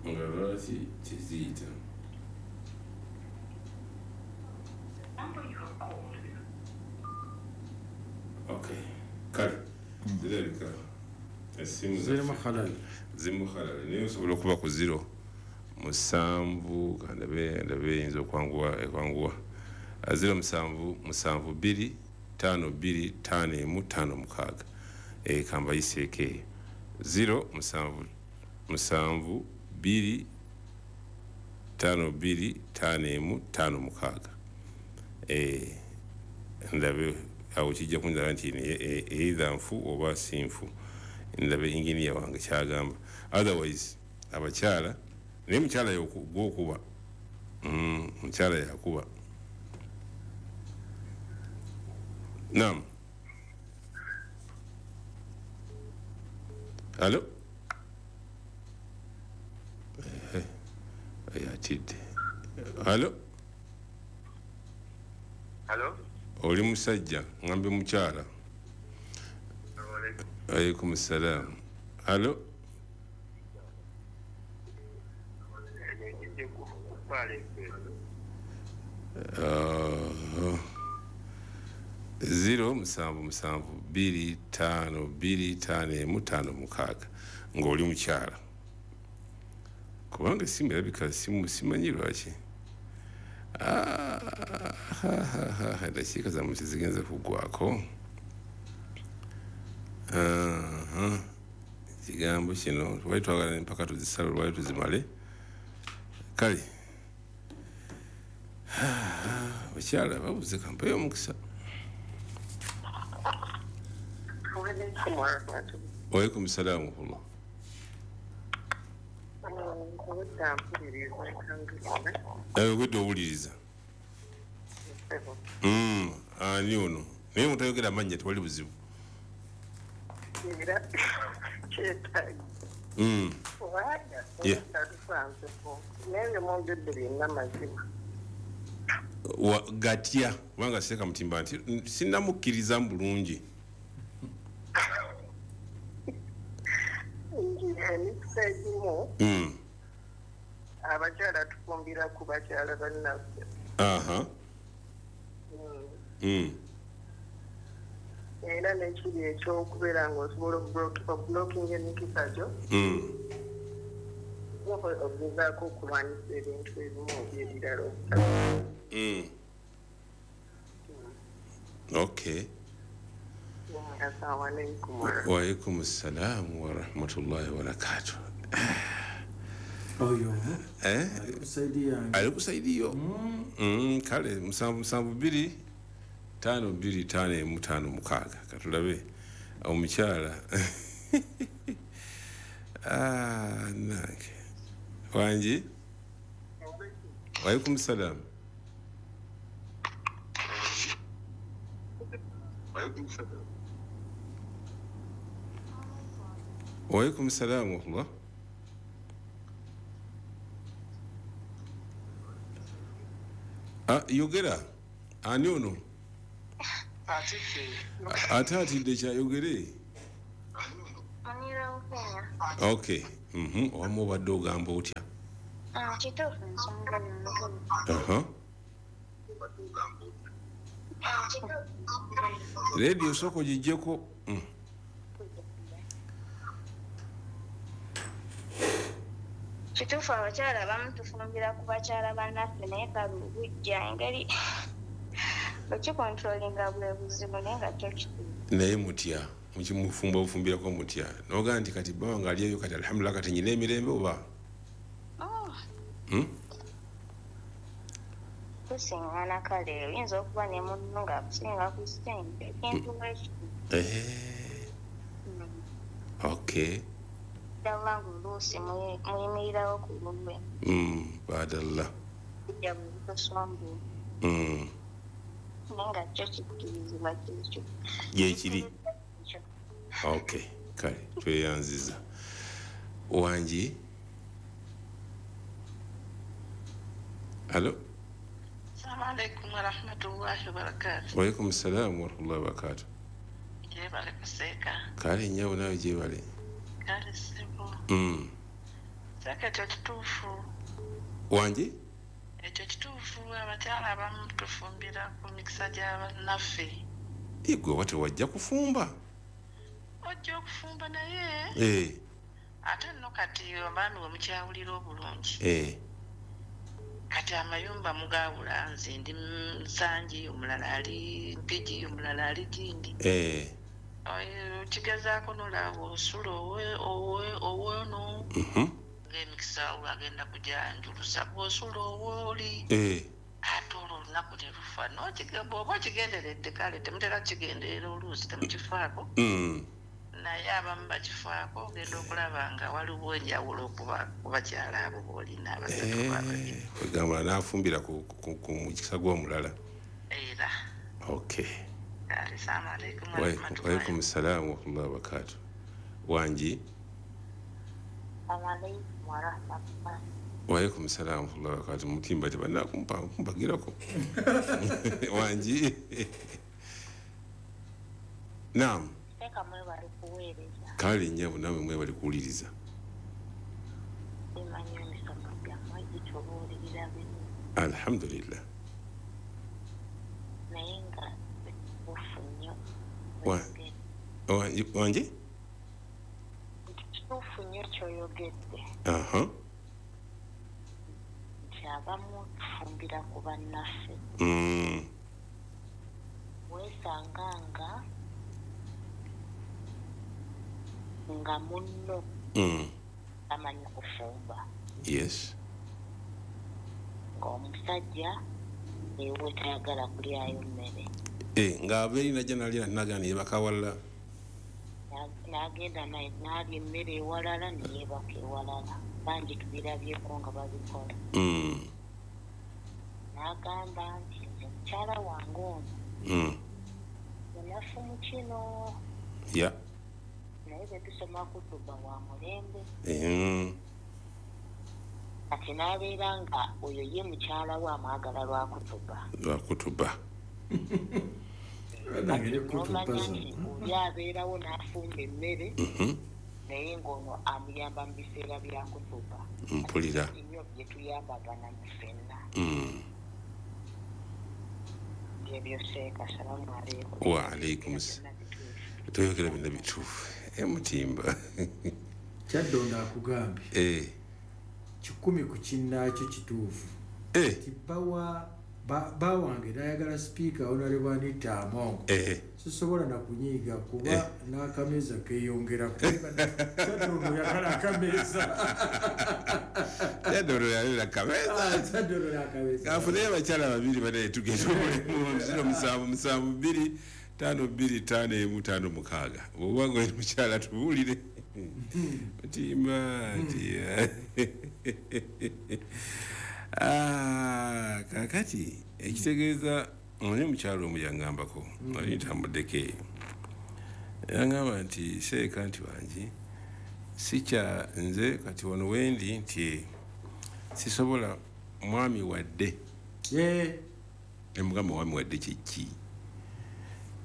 Nga lwaki teziyitamu? Okay. Kale zirabika essimu zirimu halal. Zirimu halal. Naye osobola okuba ku 0 7 kandabe eyinza okwanguwa. 0 7 7 2 5 2 5 1 5 6. Kambayiseeko eyo. 0 7 7 2 5 2 5 1 5 6. Ndabe awo kijja kunzala nti either nfu oba si nfu. Ndabe inginiya wange kyagamba. Otherwise abakyala, naye mukyala gwokuba. Mukyala yakuba. Naam. Alo? Atidde. Alo? Alo? Oli musajja, ngambe mukyala. Alaykum salam. Alo? 0 7 7 2 5 2 5 1 5 6 ng'oli mukyala. Kubanga essimu erabika simanyi lwaki. Eddakiika zammwe tezigenze kuggwako. Ekigambo kino twali twagala empaka tuzisale lwali tuzimale. Kale abakyala babuze, kampeyo omukisa. Waalaikum salaam warahmatullah. Obwedde owuliriza. Ani ono? Naye mutayogera amannya tewali buzibu. Gatya kubanga Seeka Mutimba nti sinnamukkiriza mu bulungi. Emikisa egimu abakyala tufumbira ku bakyala bannaffe. Era n'ekiri ekyokubeera ng'osobola okublockinga emikisa gyo, ogezaako okulwanyisa ebintu ebimu oba ebirala. Okay. Assalamu alaikum. Wa alaikum assalam wa rahmatullahi wa barakatuh. Oyo. Alikusaidia. Kale 7 7 2 5 2 5 1 5 6 katulabe omukyala. Nange. Wangi? Wa alaikum salam. Wa alaikum salam wa rahmatullah. Yogera ani ono? Ate atidde kyayogere. Okay. Wamu obadde ogamba otya? Kituufu nsonga nnyo. Radio soko ogiggyeko. Kituufu abakyala abamu tufumbira ku bakyala bannaffe naye kale obujja engeri okikontrolinga bwe buzibu naye nga kyo kituufu. Naye mutya mukimufumba ofumbirako mutya n'ogamba nti kati bba wange ali eyo kati alhamdulillah kati nyina emirembe oba? Tusiŋŋana kale oyinza okuba ne munno ng'akusinga ku ssente ekintu bwekityo. Okay. Ddala ng'oluusi muyimirirawo ku lulwe. Badalla. Bijja bwe bitosombola. Naye nga kyo kikkirizibwa kikyo. Gyekiri. Okay, kale tweyanziza. Wangi? Hello? Assalamu alaikum warahmatullahi wabarakatuh. Wa alaikum salam warahmatullahi wabarakatuh. Gyebale kuseeka. Kale nnyabo naawe gyebale. Kale ssebo. Seeka ekyo kituufu. Wangi? Ekyo kituufu abakyala abamu tufumbira ku mikisa gya bannaffe. Gwe oba tewajja kufumba? Ojja okufumba naye. Ate nno kati abaami we mukyawulira obulungi. Kati amayumba mugawula nze ndi Nsangi, omulala ali Mpigi, omulala ali Gindi. Okigezaako nolaba osula owono. Ng'emikisa agenda kujanjulusa bw'osula owooli. Ate olwo olunaku ne lufa bw'oba okigenderedde kale temutera kukigenderera oluusi temukifaako. Naye abamu bakifaako ogenda okulaba nga waliwo enjawulo ku bakyala abo b'olina abasatu babiri. Kwegamba n'afumbira ku mukisa gw'omulala. Era. Okay. Assalamu alaikum warahmatullahi. Wa alaikum salam warahmatullahi wabarakatuh. Wangi? Alaikum warahmatullahi. Wa alaikum salam warahmatullahi wabarakatuh. Mutimba tebanakumpa kumpagirako. Wangi? Naam. Mwebale kuweereza. Kale nnyabo nawe mwebale kuwuliriza. Emanyi emisomo gyammwe gitubuulirira bino. Alhamdulillah. Naye nga kituufu nnyo. Wangi? Kituufu nnyo ky'oyogedde. Nti abamu tufumbira ku bannaffe. Weesanga nga munno amanyi kufumba. Yes. Ng'omusajja ewe tayagala kulyayo mmere. Ng'ava eri najja n'alya nagana yeebaka walala. N'agenda n'alya emmere ewalala ne yeebaka ewalala. Bangi tubirabyeko nga babikola. N'agamba nti nze mukyala wange ono munafu mu kino. Yeah. Naye bwe tusoma kutuba wa mulembe. Kati n'abeera nga oyo ye mukyala we amwagala lwa kutuba. Lwa kutuba. N'omanya nti oli abeerawo n'afumba emmere naye ng'ono amuyamba mu biseera bya kutuba. Mpulira. Nnyo bye tuyambagana mu ffenna. Byebyo seeka. Salamu alaikum. Wa alaikum salam. Toyogera byonna bituufu. Mutimba. Kyaddondo akugambye. 10 ku kinnaakyo kituufu. Nti bba wange n'ayagala sipiika Honorable Anita Among. Sisobola na kunyiiga kuba n'akameeza keeyongerako. Kyaddondo yagala akameeza. Kyaddondo yagala akameeza. Kyaddondo yagala akameeza. Kafuneyo abakyala babiri banaye tugenda omulimu 077 2 5 2 5 1 5 6. Bw'oba ng'oli mukyala tubuulire. Mutimba nti kakati ekitegeeza omanyi omukyala omu yangambako nali ntambuddeko eyo yangamba nti seeka nti wangi sikya nze kati wano wendi nti sisobola mwami wadde Nemugamba, "Mwami wadde kyeki?"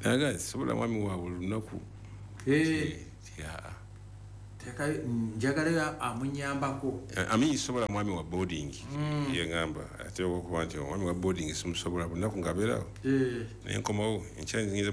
Naga, "Sobola mwami wa buli lunaku." Ti, "Aa." Njagalayo amunyambako. Ami sobola mwami wa boarding. Yengamba ate okuba nti omwami wa boarding simusobola buli lunaku ng'abeerawo. Naye nkomawo enkya nzingiza.